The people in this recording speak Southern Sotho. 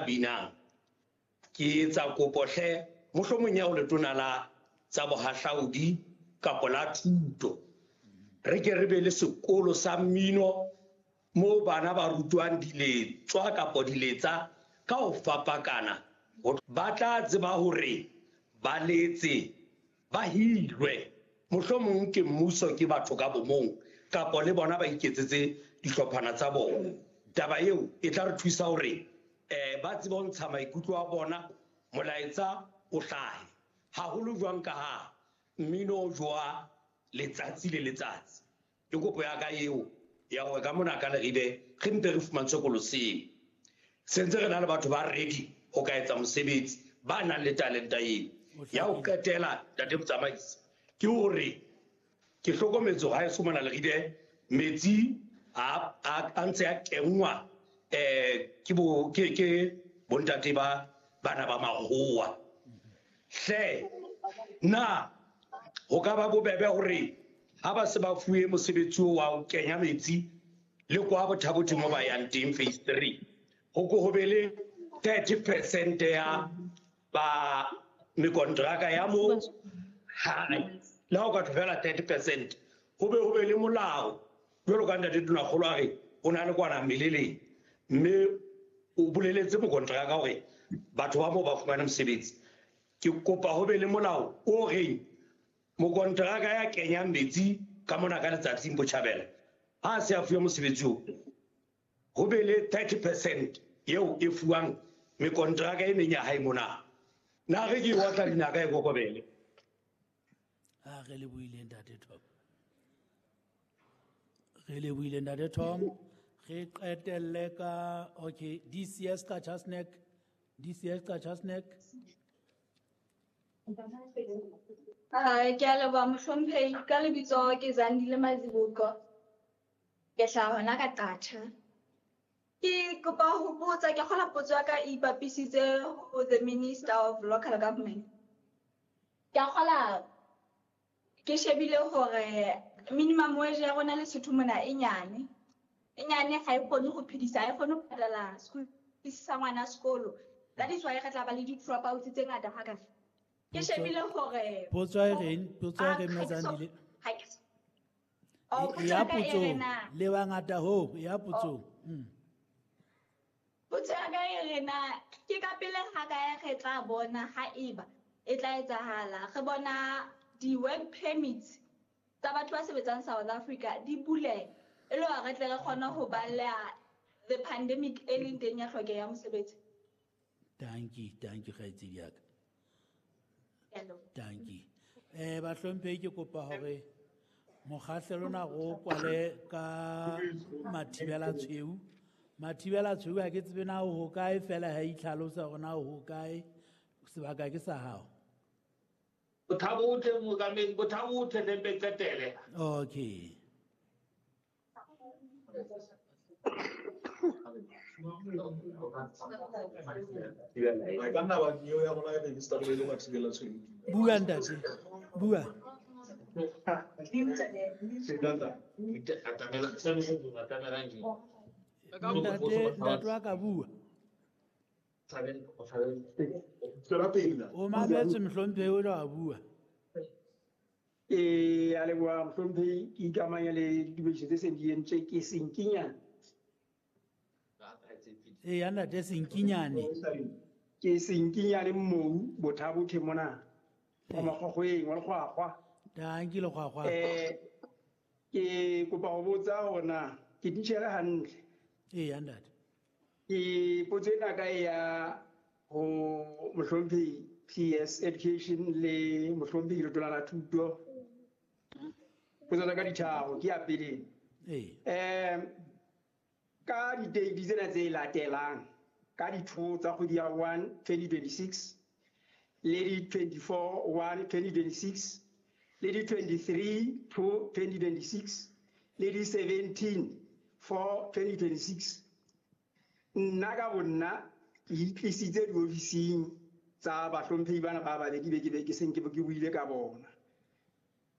binang. Ke etsa kopo hle, mohlomong ya ho letona la tsa bohahlaudi kapa la thuto. Re ke re be le sekolo sa mmino moo bana ba rutwang diletswa kapa diletsa ka ho fapakana. Ba tla tseba hore ba letse, ba hirwe. Mohlomong ke mmuso, ke batho ka bomong, kapa le bona ba iketsetse dihlophana tsa bona. Taba eo e tla re thusa hore ba tsebe ho ntsha maikutlo a bona, molaetsa o hlahe. Haholo jwang ka ha mmino o jowa letsatsi le letsatsi. Ke kopo ya ka eo ya hore ka mona ka Leribe re mpe re fumantshwe sekolo seo. Se ntse re na le batho ba ready ho ka etsa mosebetsi, ba nang le talenta eo. Ya ho qetela, Ntate Motsamaisi, ke hore ke hlokometse hore haeso mona Leribe metsi a ntse a kenngwa, ke bo, ke, ke bontate ba bana ba makgowa. Hle, na ho ka ba bobebe hore ha ba se ba fuwe mosebetsi oo wa ho kenya metsi le kwa Botha-Bothe mo ba yang teng phase 3, ho ko ho be le 30% ya ba mekontraka ya mo hae. Le ha o ka tlo fela 30%, ho be le molao jwalo ka Ntate Tonakgolo a re o na le kwana meleleng, mme o boleletse mokontraka hore batho ba moo ba fumane mosebetsi. Ke kopa ho be le molao o reng mokontraka ya kenyang metsi ka mona ka letsatsing botjhabela, ha a se a fuwe mosebetsi oo, ho be le 30% eo e fuwang mekontraka e meng ya hae mona. Na re ke e otla dinaka e kokobele. Ha re le buile Ntate Tom. Re le buile Ntate Tom. Re qetelle ka, okay, DCS Qacha's Nek. DCS Qacha's Nek. Ke a leboha mohlomphehi, ka lebitso ke Zandile Mazibuko. Ke hlaha hona ka Qacha. Ke kopa ho botsa, ke kgola potso ya ka e ipapisitse ho the Minister of Local Government. Ke a kgola ke shebile hore minimum wage ya rona Lesotho mona e nyane. E nyane ha e kgone ho phedisa, ha e kgone ho patala school fees sa ngwana sekolo. That is why re tla ba le di-dropouts tse ngata haka. Ke shebile hore Potso e reng? Potso e reng, Ha ke so- Mazandile? ha ke so- Oh, potso Ya ya ka e potso, re na? le bangata ho, ya potso. Potso ya ka e re na, ke ka pele ha kae re tla bona ha eba e tla etsahala. Re bona di-work permits tsa batho ba sebetsang South Africa di buleha e le hore re tle re kgone ho baleha the pandemic e leng teng ya tlhokeho ya mosebetsi. Dankie, dankie kgaitsedi ya ka. Ke a leboha. Dankie. Bahlomphehi, ke kopa hore mokgahlelo ona re o kwale ka Mathibela Tshweu. Mathibela Tshweu ha ke tsebe na o hokae, fela ha itlhalosa hore na o hokae, sebaka ke sa hao. Botha-Bothe, mookamedi, Botha-Bothe le mpe qetele. Okay. Ba ka nna ba neo ya rona e register le Mathibela Tshweu. Bua ntate, bua. Ntate, ntate wa ka bua. Tswela pele na. O mametse mohlomphehi o tla bua. A leboha mohlomphehi, ke ikamanya le ditumediso tse seng di entswe ke Senkinyane. Eya ntate Senkinyane. Ke Senkinyane Mmou, Botha-Bothe mona. Wa Makgokgweng, wa Lekgwakgwa. Dankie Lekgwakgwa. Ke kopa ho botsa hore na ke titjhere hantle. Eya ntate. Ke potso ena ka ya ho mohlomphehi PS Education le mohlomphehi Letona la Thuto. Potso tsa ka di tharo, ke ya pele. Ka di-date tsena tse latelang, ka di-2 tsa kgwedi ya 1 2026, le di-24 1 2026, le di-23 2 2026, le di-17 4 2026. Nna ka bonna ke itlisitse diofising tsa bahlomphehi bana ba babedi be ke be ke seng ke buile ka bona.